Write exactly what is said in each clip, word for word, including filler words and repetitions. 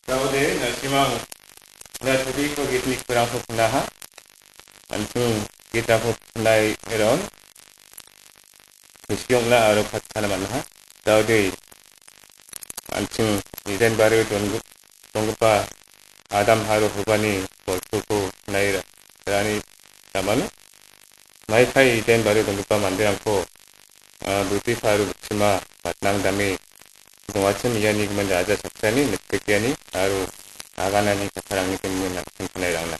Daode, na·simang na tobiko gitni kurangko knaha. An·ching gitrangko knai eron. Kusi ong·na aro patkana man·aha. Daode, an·ching Eden bario donggi-, donggipa Adam aro Hobani bolpoko knai ra-, rani ramano. Maikai Eden bario donggipa manderangko, ah, Buddhipa aro Buchima matnangdame dongachim iani gimin raja saksani mitbegiani aro aganani kattarangni gimin nangkin knai rangna.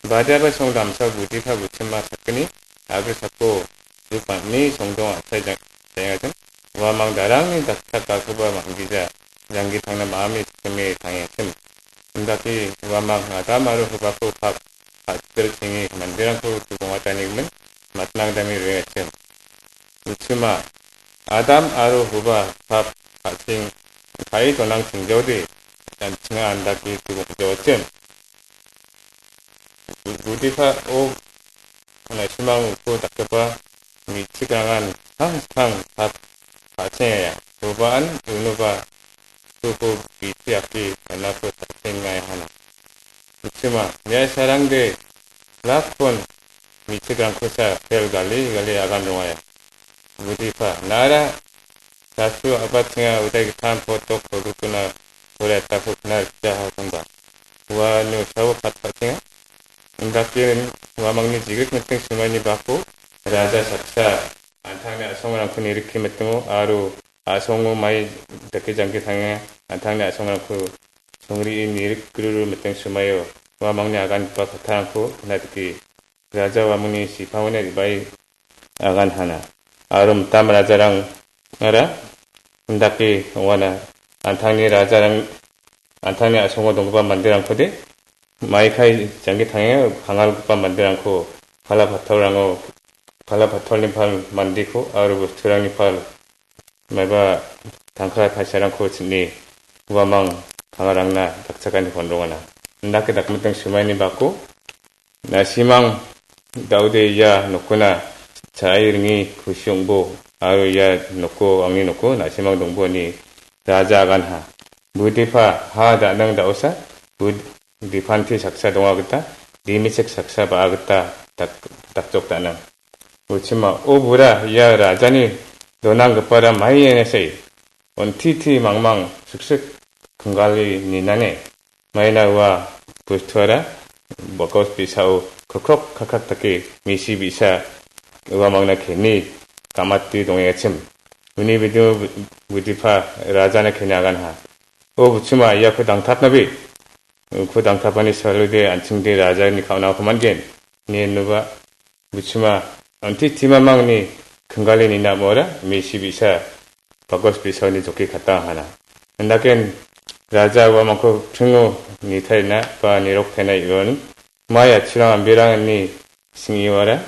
Badiaba song damsa Buddhipa Buchima sakgni agri sako duk bang·ni songdong a·sai jang-, jangengachim. Uamang darangni dakchakgakoba manggija janggi tangna ma·ami sakgni tangengachim. Indake uamang Adam aro Hobako pap ka·chilchengi manderangko dubongatanigimin matnangdame roengachim. Uchima, Adam aro Hoba pap ka·cheng ka·e donang chingjaode, an·chinga andake dubongjaochim. Bu-, Buddhipa o na·simang uko dakgipa me·chikrangan tang tang pap ka·chengaya. Hobaan unoba uko bitiake anako ka·chengaihana. Uchima, mia sarangde lakon me·chikrangkosa pel gali gali agan rongaya. Buddhipa, nara sasu abatenga udai gittam potok produk guna poriatako knar jaha konba. Uano sao pat patenga. Indake uamangni jigrik miting sumaini bako raja saksa antangni a·songrangko nirikki mitingo aro a·songo mai dake jangki tangenga antangni a·songrangko songri·e nirik gruru miting sumaio uamangni agangipa kattarangko natiki raja uamangni sipangona re·bae agan hana. Aro mitam rajarangara indake ong·ana. Antangni rajarang, antangni a·songo donggipa manderangkode maikai jangki tangenga kangalgipa manderangko pala patolrango, pala patolni pal mandiko aro bosturangni pal maiba tangka paisarangko ching·e uamang kangarangna dakchakani kon rongana. Indake dakmiting sumaini bako na·simang daode ia nokona cha·e ringe kusi ong·bo aro ia noko angni noko na·simang dongbo ine raja aganha. Buddhipa ha da·nang da·osa bud-, dipanti saksa donga gita, dimichek saksa ba·a gita dak-, dakjok da·nang. Uchima, o bura ia rajani donanggipara maienasai, ontiti mangmang siksik kinggali ninane. Maina ua bostuara bakos bisao krokrok kakrak dake misi bi·sa uamangna keni gamate dongengachim. Uni bidingo bu-, Buddhipa rajana keni aganha. O Buchima, iako dangtatnabe. Uko dangtapani salode an·chingde rajani ka·onako man·gen. Ine inoba Buchima, anti timamangni kinggali nina amora misi bi·sa, bakos bisaoni joki katang hana. Indaken raja uamangko pringo nitaina ba niroktaina ion, mai achirang ambirangni sing·iwara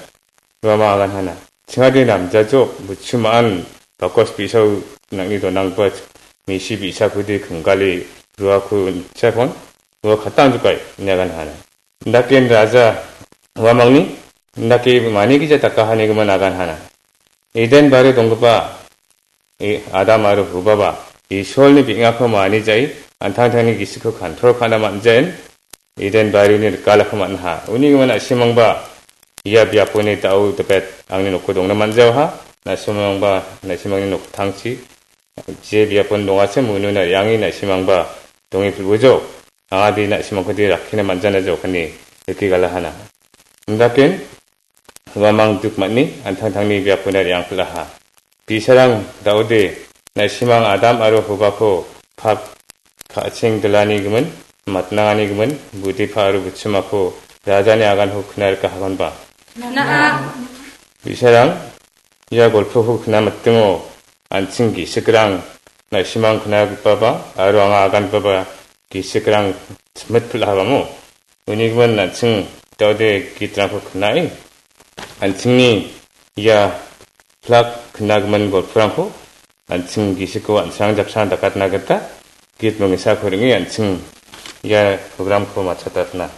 uamang agan hana. Chingade namjajok, Buchimaan bakos bisao nang·ni donangba misi bi·sakode kinggali ruako on·chakon ua katang jokai ine agan hana. Indaken raja uamangni indake manigija dakahanigimin agan hana. Eden bario donggipa e-, Adam aro Hubaba Isolni beng·ako manijai, an·tangtangni gisikko kontrol ka·na man·jain, Eden barioni rikalako man·aha. Uni gimin na·simangba ia biaponi da·o dipet angni noko dongna man·jaoha. Na·simangba na·simangni noktangchi je biapon dongachim ununa re·ange na·simangba donge pil·bojo. Anga de na·simangkode rakkina man·jana jokani rike galahana. Indaken uamang duk man·e an·tangtangni biapona re·angpil·aha. Bi·sarang da·ode na·simang Adam aro Hubako pap ka·cheng dilani gimin, matnangani gimin, Buddhipa aro Buchimako rajani aganko kna rikahagonba. Na·a. Bi·sarang ia golpoko kna mitingo an·ching gisik rang na·simang knagipaba aro anga agangipaba gisik rang chimit pil·ahabamo. Uni gimin an·ching da·ode gitrangko knae, an·chingni ia plak knagimin golporangko an·ching gisiko an·ching japsan dakatna gita git mingisako ring·e an·ching ia programko matchatatna.